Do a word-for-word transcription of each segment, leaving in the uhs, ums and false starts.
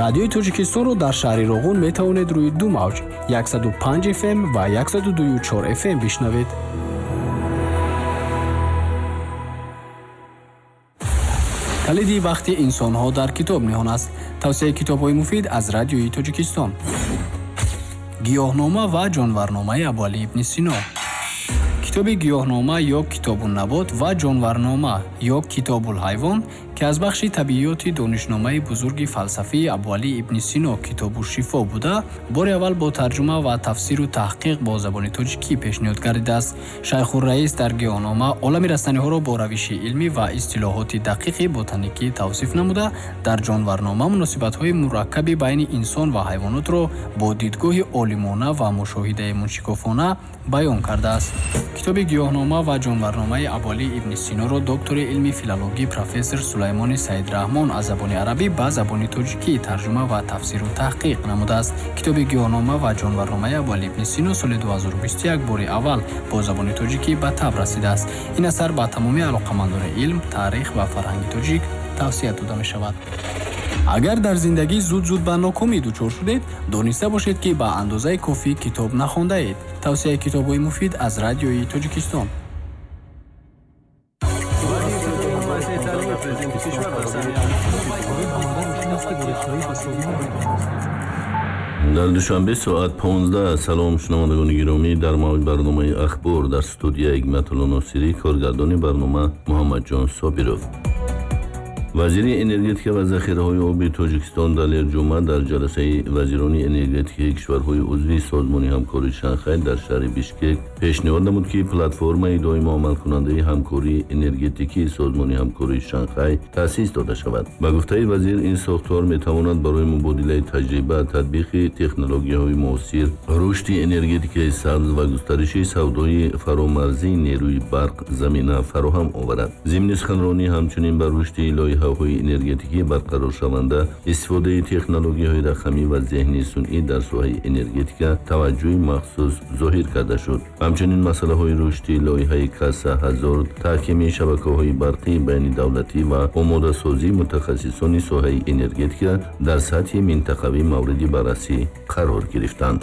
Радиои Тоҷикистонро дар шаҳри Роғун метавонед рӯи ду мавҷ яксаду панҷ эф эм ва яксаду дую чор эф эм бишнавед. Калиди бахти инсонҳо дар китоб ниҳон аст. Тавсияи китобҳои муфид аз Радиои Тоҷикистон. Гиёҳнома ва ҷонварномаи Абуалӣ ибни Сино. Китоби гиёҳнома ё Китобуннабот ва ҷонварнома ё Китобулҳайвон, ки аз бахши табиёти донишномаи бузурги фалсафии Абуалӣ ибни Сино Китобу шифо буда, бори аввал бо тарҷума ва тафсиру таҳқиқ бо забони тоҷикӣ пешниҳод гардидааст. Шайхурраис дар гиёҳнома олами растаниҳоро бо равиши илмӣ ва истилоҳоти дақиқи ботаникӣ тавсиф намуда, дар ҷонварнома муносибатҳои мураккаби байни инсон ва ҳайвонотро бо дидгоҳи олимона ва мушоҳидаи муншикофона баён кардааст. Китоби гиёҳнома ва ҷонварномаи Абуалӣ ибни Синоро доктори илми филологӣ профессор Сулаймони Саидраҳмон аз забони арабӣ ба забони тоҷикӣ тарҷума ва тафсиру таҳқиқ намудааст. Китоби гиёҳнома ва ҷонварномаи Абуалӣ ибни Сино соли ду ҳазору бисту як бори аввал бо забони тоҷикӣ ба таб расидааст. Ин асар ба тамоми алоқамандони илм, таърих ва фарҳанги тоҷик тавсия дода мешавад. Агар дар зиндагӣ зуд-зуд ба нокомӣ дучор шудед, дониста бошед, ки ба андозаи кофӣ китоб нахондаед. Тавсияи китобҳои муфид аз Радиои Тоҷикистон. Дар Душанбе соат понздаҳ. Салом шунавандагони гиромӣ, дар мавҷ барномаи Ахбор дар студия Ҳикматулло Носирӣ, коргардони барнома Муҳаммадҷон Собиров. Вазири энергетика ва захираҳои оби Тоҷикистон Далер Ҷума дар ҷаласаи вазирони энергетикаи кишварҳои узви Созмони ҳамкории Шанхай дар шаҳри Бишкек пешниҳод намуд, ки платформаи доимо амалкунандаи ҳамкории энергетикии Созмони ҳамкории Шанхай таъсис дода шавад. Ба гуфтаи вазир, ин сохтор метавонад барои мубодилаи таҷриба, татбиқи технологияҳои муосир, рушди энергетикаи сабз ва густариши савдои фаромарзии нерӯи барқ замина фароҳам оварад. Зимни суханронӣ ҳамчунин ба рушди лоиҳа ҳои энергетикӣ барқароршаванда, истифодаи технологияҳои рақамӣ ва зеҳни сунъӣ дар соҳаи энергетика таваҷҷӯҳи махсус зоҳир карда шуд. Ҳамчунин масъалаҳои рушди лоиҳаи Каса ҳазор, таҳкими шабакаҳои барқии байнидавлатӣ ва омодасозии мутахассисони соҳаи энергетика дар сатҳи минтақавӣ мавриди баррасӣ қарор гирифтанд.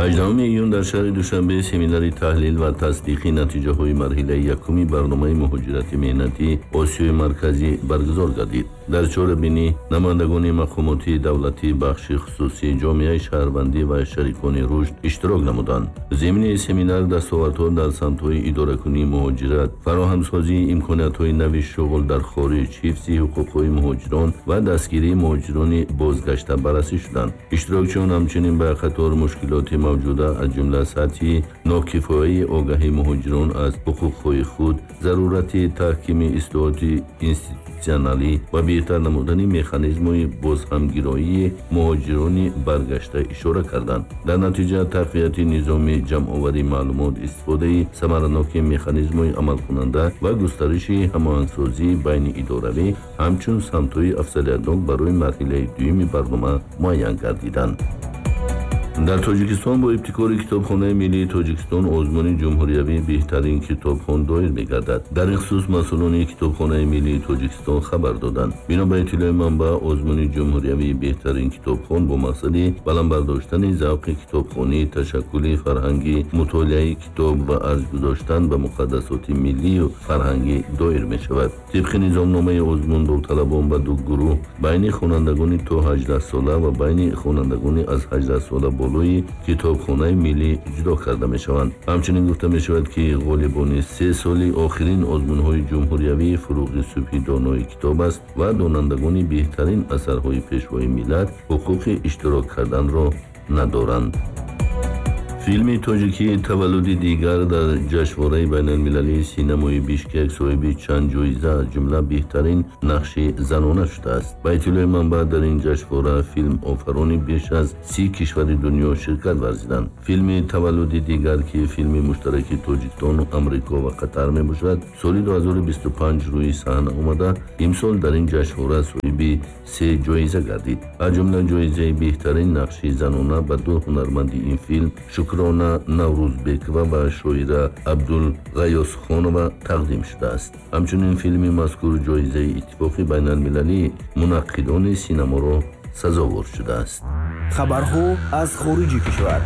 ҳаждаҳуми июн дар шаҳри Душанбе семинари таҳлил ва тасдиқи натиҷаҳои марҳилаи якуми барномаи муҳоҷирати меҳнатии Осиёи Марказӣ баргузор гардид. Дар чорабинӣ намояндагони мақомоти давлатӣ, бахши хусусӣ, ҷомеаи шаҳрвандӣ ва шарикони рушд иштирок намуданд. Зимни семинар дастовардҳо дар самтҳои идоракунии муҳоҷират, фароҳамсозии имкониятҳои нави шуғл дар хориҷ, ҳифзи ҳуқуқҳои муҳоҷирон ва дастгирии муҳоҷирони бозгашта баррасӣ шуданд. Иштирокчиён ҳамчунин ба қатор мушкилоти мавҷуда, аз ҷумла сатҳи нокифояи огаҳии муҳоҷирон аз ҳуқуқҳои худ, зарурати таҳкими ислоҳоти институтсионалӣ ва беҳтар намудани механизмҳои бозҳамгироии муҳоҷирони баргашта ишора карданд. Дар натиҷа тақвияти низоми ҷамъоварии маълумот, истифодаи самараноки механизмҳои амалкунанда ва густариши ҳамоҳангсозии байниидоравӣ ҳамчун самтҳои афзалиятнок барои марҳилаи дуюми барнома муайян гардиданд. Дар Тоҷикистон бо ибтикори Китобхонаи миллии Тоҷикистон озмуни ҷумҳуриявии беҳтарин китобхон доир мегардад. Дар ин хусус масъулони Китобхонаи миллии Тоҷикистон хабар доданд. Бино ба иттилои манбаъ, озмуни ҷумҳуриявии беҳтарин китобхон бо мақсади баланд бардоштани завқи китобхонӣ, ташаккули фарҳанги мутолиаи китоб ва арҷ гузоштан ба муқаддасоти миллию фарҳангӣ доир мешавад. Тибқи низомномаи озмун, довталабон ба ду гурӯҳ байни хонандагони то ҳаждаҳ сола ва байни хонандагони аз ҳаждаҳ сола болои китобхонаи миллӣ ҷудо карда мешаванд. Ҳамчунин гуфта мешавад, ки ғолибони се соли охирин озмунҳои ҷумҳуриявии фурӯғи субҳи донои китоб аст ва донандагони беҳтарин асарҳои пешвои миллат ҳуқуқи иштирок карданро надоранд. Филми тоҷикии «Таваллуди дигар» дар ҷашнвораи байналмилалии синамои Бишкек соҳиби чанд ҷоиза, аз ҷумла беҳтарин нақши занона шудааст. Ба иттилои манбаъ, дар ин ҷашнвора филмофарони беш аз си кишвари дунё ширкат варзиданд. Филми «Таваллуди дигар», ки филми муштараки Тоҷикистон, Амрико ва Қатар мебошад, соли ду ҳазору бисту панҷ рӯи саҳна омада, имсол дар ин ҷашнвора соҳиби се ҷоиза гардид. Аз ҷумла ҷоизаи беҳтарин нақши занона ба ду ҳунарманди ин филм, Шукрона Наврӯзбекова ва шоира Абдулғаёсхонова тақдим шудааст. Ҳамчунин филми мазкур ҷоизаи Иттифоқи байналмилалии мунаққидони синаморо Сазовор шудааст. Хабарҳо аз хориҷи кишвар.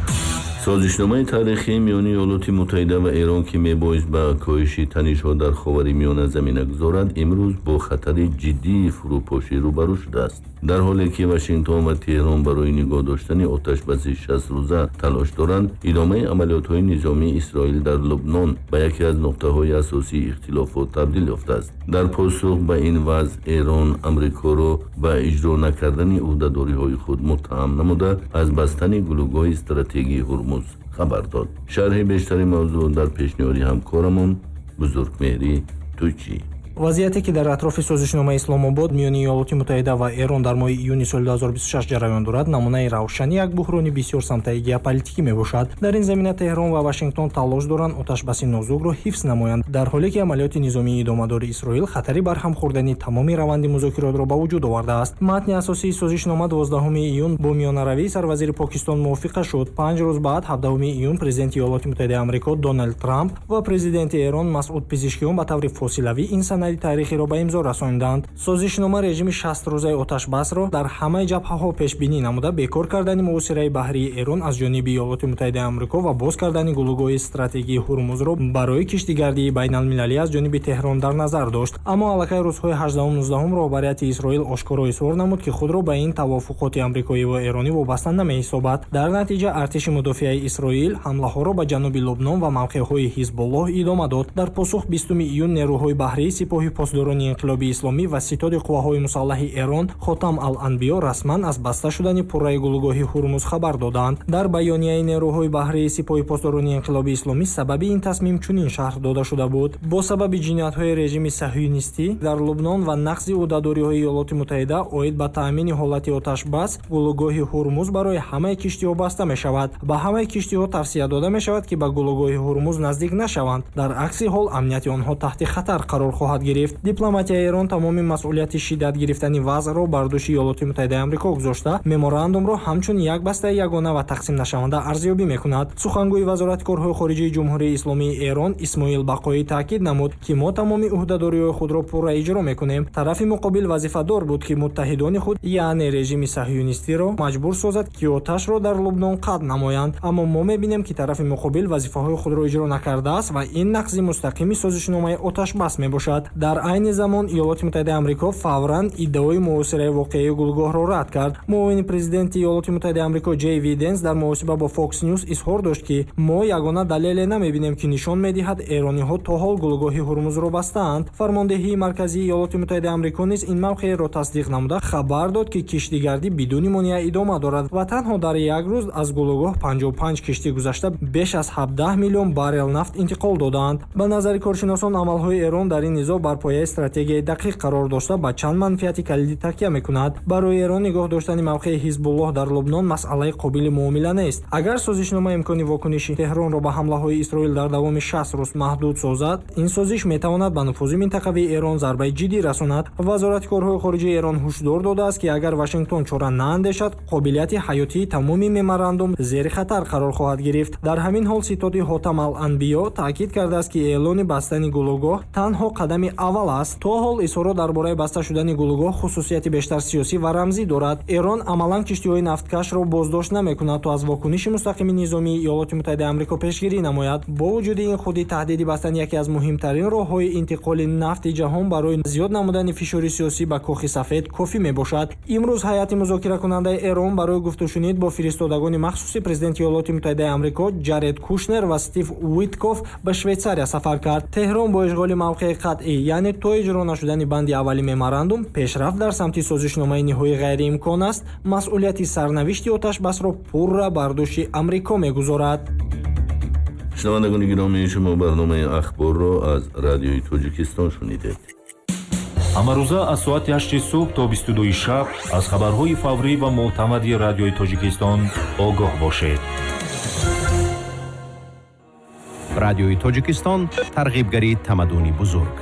Созишномаи таърихии миёни Иёлоти Муттаҳида ва Эрон, ки мебоист ба коҳиши танишҳо дар Ховари Миёна замина гузорад, имрӯз бо хатари ҷиддии фурӯпошӣ рӯбарӯ шудааст. Дар ҳоле ки Вашингтон ва Теҳрон барои нигоҳ доштани оташбаси шаст рӯза талош доранд, идомаи амалиётҳои низомии Исроил дар Лубнон ба яке аз нуқтаҳои асосии ихтилофот табдил ёфтааст. Дар посух ба ин вазъ, Эрон Амрикоро ба иҷро накардани ӯҳдадориҳои худ муттаҳам намуда, аз бастани гулӯгоҳи стратегии Ҳурмуз хабар дод. Шарҳи бештари мавзӯъ дар пешниҳоди ҳамкорамон Бузургмеҳрӣ Тӯйчӣ. Вазъияте, ки дар атрофи созишномаи Исломобод миёни Иёлоти Муттаҳида ва Эрон дар моҳи июни соли ду ҳазору бисту шаш ҷараён дорад, намунаи равшани як буҳрони бисёрсамтаи геополитикӣ мебошад. Дар ин замина Теҳрон ва Вашингтон талош доранд оташбаси нозукро ҳифз намоянд, дар ҳоле ки амалиёти низомии идомадори Исроил хатари барҳам хӯрдани тамоми раванди музокиротро ба вуҷуд овардааст. Матни асосии созишнома дувоздаҳуми июн бо миёнаравии сарвазири Покистон мувофиқа шуд. Панҷ рӯз баъд, ҳабдаҳуми июн, президенти Иёлоти Муттаҳидаи Амрико Доналд Трамп ва президенти Эрон Масъуд Пизишкиён ба таври фосилавӣ ин санади таърихиро ба имзо расонданд. Созишнома режими шастрӯзаи оташбасро дар ҳамаи ҷабҳаҳо пешбинӣ намуда, бекор кардани муҳосираи баҳрии Эрон аз ҷониби Иёлоти Муттаҳидаи Амрико ва боз кардани гулӯгоҳи стратегии Ҳурмузро барои киштигардии байналмилалӣ аз ҷониби Теҳрон дар назар дошт. Аммо аллакай рӯзҳои ҳаждаҳум-нуздаҳум роҳбарияти Исроил ошкоро изҳор намуд, ки худро ба ин тавофуқоти амрикоӣ ва эронӣ вобаста намеҳисобад. Дар натиҷа артиши мудофиаи Исроил ҳамлаҳоро ба ҷануби Лубнон ва мавқеъҳои Ҳизбуллоҳ идома дод. Дар посух, бистуми июн нерӯҳои баҳрии Сипоҳи Посдорони Инқилоби Исломӣ ва Ситоди Қувваҳои Мусаллаҳи Эрон Хотам ал-Анбиё расман аз баста шудани пурраи гулӯгоҳи Ҳурмуз хабар доданд. Дар баёнияи нерӯҳои баҳрии Сипоҳи Посдорони Инқилоби Исломӣ сабаби ин тасмим чунин шарҳ дода шуда буд: бо сабаби ҷиноятҳои режими саҳюнистӣ дар Лубнон ва нақзи ӯҳдадориҳои Иёлоти Муттаҳида оид ба таъмини ҳолати оташбас, гулӯгоҳи Ҳурмуз барои ҳамаи киштиҳо баста мешавад. Ба ҳамаи киштиҳо тавсия дода мешавад, ки ба гулӯгоҳи Ҳурмуз наздик нашаванд. Дар акси ҳол амнияти онҳо таҳти хатар қарор хоҳад гирифт. Дипломатияи Эрон тамоми масъулияти шиддат гирифтани вазъро бар дӯши Иёлоти Муттаҳидаи Амрико гузошта, меморандумро ҳамчун як бастаи ягона ва тақсимнашаванда арзёбӣ мекунад. Сухангӯи Вазорати корҳои хориҷии Ҷумҳурии Исломии Эрон Исмоил Бақоӣ таъкид намуд, ки мо тамоми ӯҳдадориҳои худро пурра иҷро мекунем. Тарафи муқобил вазифадор буд, ки муттаҳидони худ, яъне режими саҳюнистиро, маҷбур созад, ки оташро дар Лубнон қатъ намоянд. Аммо мо мебинем, ки тарафи муқобил вазифаҳои худро иҷро накардааст ва ин нақзи мустақими созишномаи оташбас мебошад. Дар айни замон Иёлоти Муттаҳидаи Амрико фавран иддаои муҳосираи воқеии гулӯгоҳро рад кард. Муовини президенти Иёлоти Муттаҳидаи Амрико Ҷей Ди Венс дар муҳосиба бо Fox News изҳор дошт, ки мо ягона далеле намебинем, ки нишон медиҳад, эрониҳо то ҳол гулӯгоҳи Ҳурмузро бастаанд. Фармондеҳии марказии Иёлоти Муттаҳидаи Амрико низ ин мавқеъро тасдиқ намуда, хабар дод, ки киштигардӣ бидуни монеа идома дорад ва танҳо дар як рӯз аз гулӯгоҳ панҷоҳу панҷ киштӣ гузашта, беш аз ҳабдаҳ миллион баррел нафт интиқол додаанд. Ба назари коршиносон, амалҳои Эрон дар ин низоъ бар пояи стратегияи дақиқ қарор дошта, ба чанд манфиати калидӣ такя мекунад. Барои Эрон нигоҳ доштани мавқеи Ҳизбуллоҳ дар Лубнон масъалаи қобили муомила нест. Агар созишнома имкони вокуниши Теҳронро ба ҳамлаҳои Исроил дар давоми шаст рӯз маҳдуд созад, ин созиш метавонад ба нуфузи минтақавии Эрон зарбаи ҷиддӣ расонад. Вазорати корҳои хориҷии Эрон ҳушдор додааст, ки агар Вашингтон чора наандешад, қобилияти ҳаётии тамоми меморандум зери хатар қарор хоҳад гирифт. Дар ҳамин ҳол ситоди Ҳотам ал-Анбиё таъкид кардааст, ки эълони бастани гулӯгоҳ танҳо қадами аввал аст. То ҳол изҳорот дар бораи баста шудани гулӯгоҳ хусусияти бештар сиёсӣ ва рамзӣ дорад. Эрон амалан киштиҳои нафткашро боздошт намекунад, то аз вокуниши мустақими низомии Иёлоти Муттаҳидаи Амрико пешгирӣ намояд. Бо вуҷуди ин, худи таҳдиди бастани яке аз муҳимтарин роҳҳои интиқоли нафти ҷаҳон барои зиёд намудани фишори сиёсӣ ба Кохи Сафед кофӣ мебошад. Имрӯз ҳайати музокиракунандаи Эрон барои гуфтушунид бо фиристодагони махсуси президенти Иёлоти Муттаҳидаи Амрико Ҷаред Кушнер ва Стив Уитков ба Швейтсария сафар кард. Теҳрон бо ишғоли мавқеи қатъӣ, яъне то иҷро нашудани банди аввали меморандум пешрафт дар самти созишномаи ниҳоӣ ғайриимкон аст, масъулияти сарнавишти оташбасро пурра бар дӯши Амрико мегузорад. Шунавандагони гиромӣ, шумо барномаи Ахборро аз Радиои Тоҷикистон шунидед. Ҳамарӯза аз соати ҳашти субҳ то бисту дуи шаб аз хабарҳои фаврӣ ва мӯътамади Радиои Тоҷикистон огоҳ бошед. Радиои Тоҷикистон, тарғибгари тамаддуни бузург.